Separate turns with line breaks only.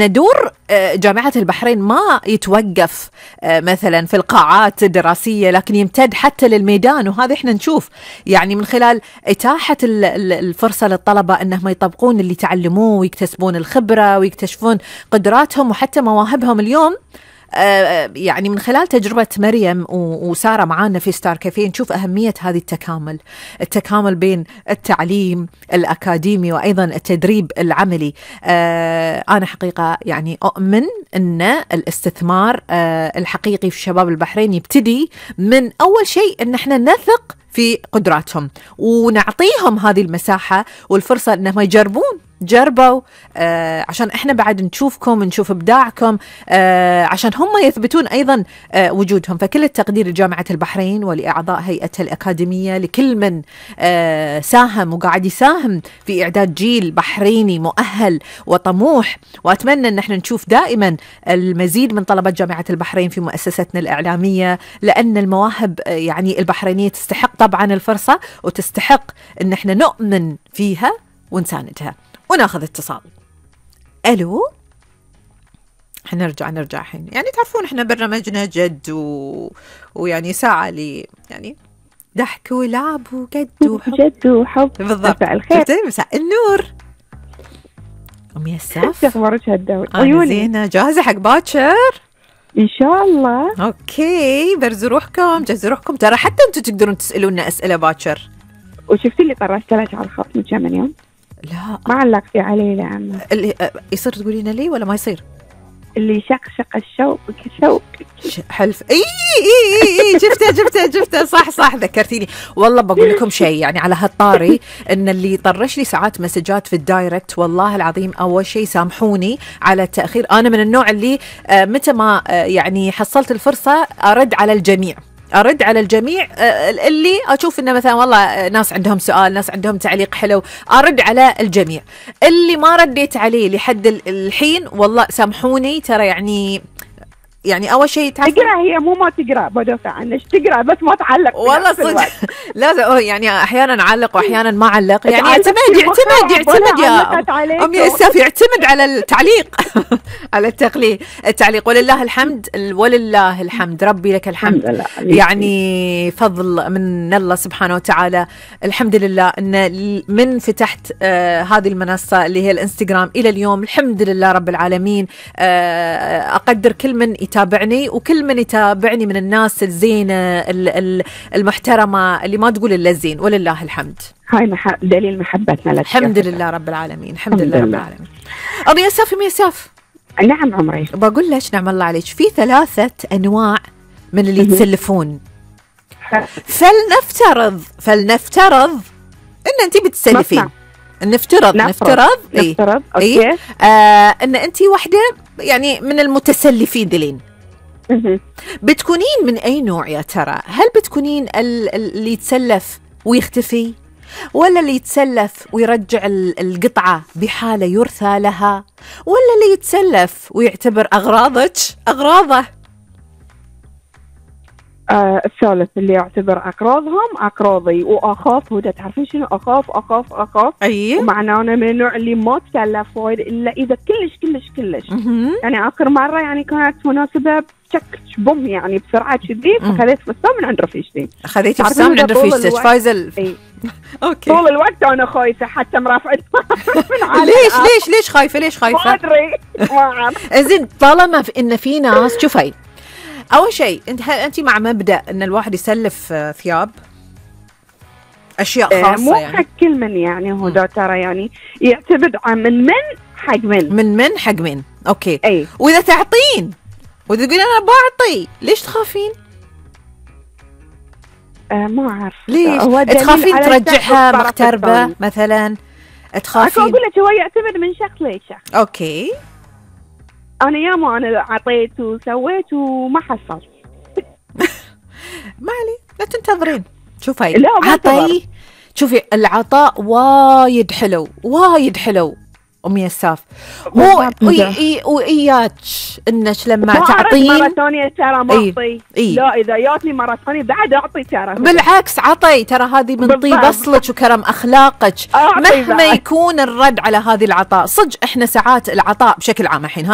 دور جامعة البحرين ما يتوقف مثلا في القاعات الدراسية، لكن يمتد حتى للميدان، وهذا احنا نشوف يعني من خلال إتاحة الفرصة للطلبة أنهم يطبقون اللي تعلموه ويكتسبون الخبرة ويكتشفون قدراتهم وحتى مواهبهم. اليوم يعني من خلال تجربة مريم وسارة معانا في ستار كافيه نشوف أهمية هذه التكامل بين التعليم الأكاديمي وأيضا التدريب العملي. أنا حقيقة يعني أؤمن أن الاستثمار الحقيقي في شباب البحرين يبتدي من أول شيء أن احنا نثق في قدراتهم ونعطيهم هذه المساحة والفرصة أنهم جربوا عشان احنا بعد نشوفكم، نشوف ابداعكم، عشان هم يثبتون ايضا وجودهم. فكل التقدير لجامعة البحرين ولاعضاء هيئتها الاكاديمية، لكل من ساهم وقاعد يساهم في اعداد جيل بحريني مؤهل وطموح. واتمنى ان احنا نشوف دائما المزيد من طلبة جامعة البحرين في مؤسستنا الاعلامية، لان المواهب يعني البحرينية تستحق طبعا الفرصة وتستحق ان احنا نؤمن فيها ونساندها. وناخذ اتصال. الو، حنرجع الحين. يعني تعرفون احنا برنامجنا جد ويعني ساعة لي يعني ضحك ولعب وجد وحب.
جد وحب.
بالضبط.
مساء الخير.
مساء النور. أم يساف،
شو اخبارك هالدور؟
أنا زينة، جاهزة حق باكر؟
ان شاء الله.
اوكي، برزوا روحكم، جهزوا روحكم، ترى حتى انتم تقدرون تسألونا أسئلة باكر.
وشفتي اللي طرشت لك على الخط من كم يوم؟
لا
ما علقتي عليه لعمه.
اللي يصير تقولين لي ولا ما يصير؟
اللي شقشق الشوق كشوق.
حلف. اي جبته صح ذكرتيني. والله بقول لكم شيء يعني على هالطاري، ان اللي يطرش لي ساعات مسجات في الدايركت والله العظيم اول شيء سامحوني على التأخير. انا من النوع اللي متى ما يعني حصلت الفرصة ارد على الجميع اللي أشوف إنه مثلا والله ناس عندهم سؤال، ناس عندهم تعليق حلو، أرد على الجميع. اللي ما رديت عليه لحد الحين والله سامحوني، ترى يعني أول شيء
تقرأ، هي مو ما تقرأ، بدافع عنك تقرأ بس ما تعلق.
والله صدق لازم يعني أحيانا أعلق وأحيانا ما أعلق، يعني يعتمد يا أمي يساف، يعتمد على التعليق على التعليق. ولله الحمد ربي لك الحمد. يعني فضل من الله سبحانه وتعالى، الحمد لله أن من فتحت هذه المنصة اللي هي الانستغرام إلى اليوم الحمد لله رب العالمين. أقدر كل من يتابعني وكل من يتابعني من الناس الزينة المحترمة اللي ما تقول إلا الزين، ولله الحمد.
هاي دليل محبتنا لك.
الحمد لله رب العالمين، الحمد لله رب العالمين. أم يساف.
نعم عمري.
بقول لك نعم الله عليك، في 3 أنواع من اللي يتسلفون. فلنفترض إن أنت بتسلفين. نفترض
أوكي.
ان انت واحده يعني من المتسلفين ذلين. بتكونين من اي نوع يا ترى؟ هل بتكونين اللي يتسلف ويختفي، ولا اللي يتسلف ويرجع القطعه بحاله يرثى لها، ولا اللي يتسلف ويعتبر اغراضه؟
الثالث، اللي يعتبر أقراضهم أقراضي وأخاف. وده تعرفين شنو أخاف.
أيه.
ومعناه أنا من النوع اللي ما تسلف وايد إلا إذا كلش. يعني آخر مرة يعني كانت مناسبة بوم يعني بسرعة كذي، فخذيت فستان من عند رفيقتي.
خذيتي فستان من عند رفيقتك فايزل؟
أوكي. طول الوقت أنا خايفة، حتى مرافعت.
ليش خايفة؟
ما أدري. ما أعرف.
زين، طالما إن في ناس، شوفي أول شيء أنت مع مبدأ إن الواحد يسلف ثياب، أشياء خاصة،
مو
يعني
حق كل من، يعني هو ده ترى يعني يعتمد عن من حق
من. أوكي.
أي.
وإذا تعطين وإذا تقولين أنا بعطي، ليش تخافين؟
ما أعرف
ليش تخافين ترجعها مغتربة مثلا؟ تخافين؟
أقول لك هو يعتمد من شخص لشخص.
أوكي.
أنا ياما عطيت وسويت وما حصلت.
ما علي، لا تنتظرين. شوفي عطي، شوفي العطاء وايد حلو أم يساف. هو وإياك إنك لما تعطين
مرة ثانية ترى ما أعطي. لا إذا جاتني مرة ثانية بعد أعطي ترى.
بالعكس عطي، ترى هذه من طيب أصلك وكرم أخلاقك مهما يكون الرد على هذه العطاء. صدق إحنا ساعات العطاء بشكل عام الحين